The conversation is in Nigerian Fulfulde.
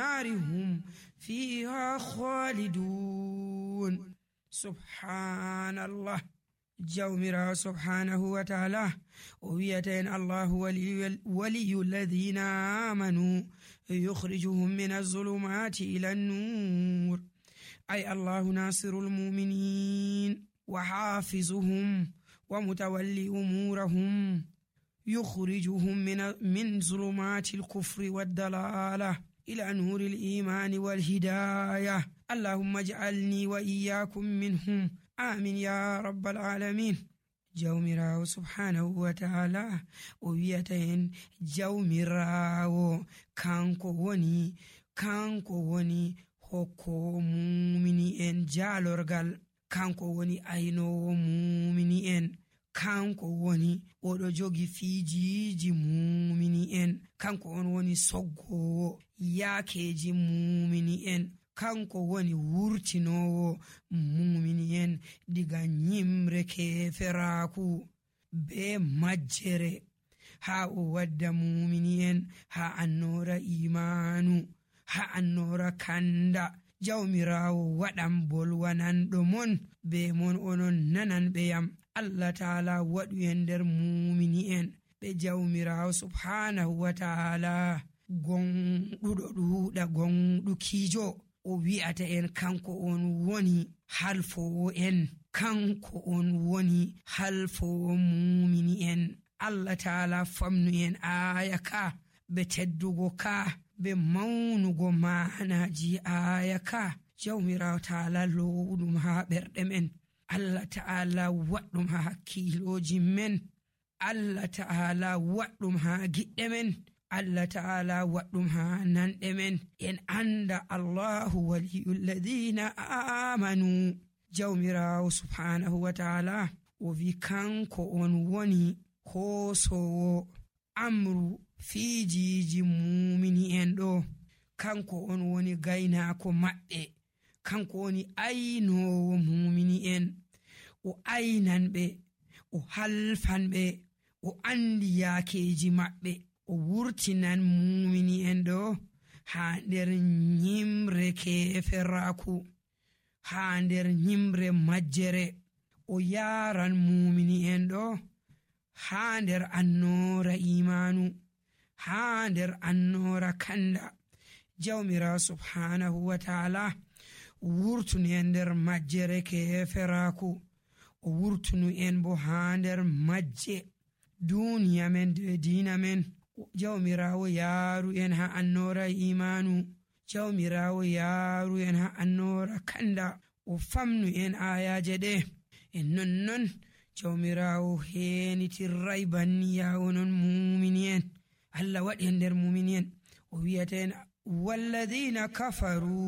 النار هم فيها خالدون. سبحان الله. جومرا سبحانه وتعالى ويتين الله ولي الذين آمنوا يخرجهم من الظلمات إلى النور، أي الله ناصر المؤمنين وحافظهم ومتولي أمورهم، يخرجهم من ظلمات الكفر والضلالة إلى نور الإيمان والهداية. اللهم اجعلني وإياكم منهم، آمين يا رب العالمين. جومراو سبحانه وتعالى ويتين جومراو kanko woni hokko mumini en jaalorgal, kanko woni aynowo mumini en, kanko woni oɗo jogi fiijiji mumini en, kanko on woni soggowo yaakeji mumini en, kanko woni wurtinowo mumini en diga nyimre keferaku be majjere ha o wadda mumini en ha annora imanu, ha annora kanda. Jawmirawo waɗan bolwananɗo mon be mon onon nananɓe yam. Allah ta'ala waɗu en nder mumini en ɓe jawmirawo subhanahu wa ta'ala gonɗuɗo ɗuuɗa gonɗukijo o wi'ata en kanko on woni halfowo en, kanko on woni halfowo mumini en. Allah ta'ala famnu en aya ka be teddugo ka be maunugo maanaji aya ka. Jawmirawo ta'ala lowɗum ha ɓerɗe men, Allah ta'ala waɗɗum ha hakkiloji men, Allah ta'ala waɗɗum ha giɗɗe men, Allah ta'ala waɗɗum ha nanɗe men. En anda Allahu waliyul ladina amanu. Jawmirawo subhanahu wa ta'ala o wi kanko on woni hoosowo amru fiijiji mumini en ɗo, kanko on woni gaynako maɓɓe, kanko woni aynowo mumini en, o aynan ɓe, o halfan ɓe, o andi yaakeji maɓɓe, o wurtinan mumini en ɗo ha nder nyimre keferaku, ha nder nyimre majjere, o yaran mumini en ɗo ha nder annora imanu, ha nder annora kanda. Jawmira subhanahu wa ta'ala wurtunu en nder majjere keferaku, o wurtunu en bo ha nder majje duniya men de dina men. Jawmirawo yaaru en ha annora imanu, jawmirawo yaaru en ha annora kanda, o famnu en ayaje ɗe. En nonnon jawmirawo henitirray banniya onon mumini en. Allah waɗi en nder mumini en, o wiyata en walladina kafaru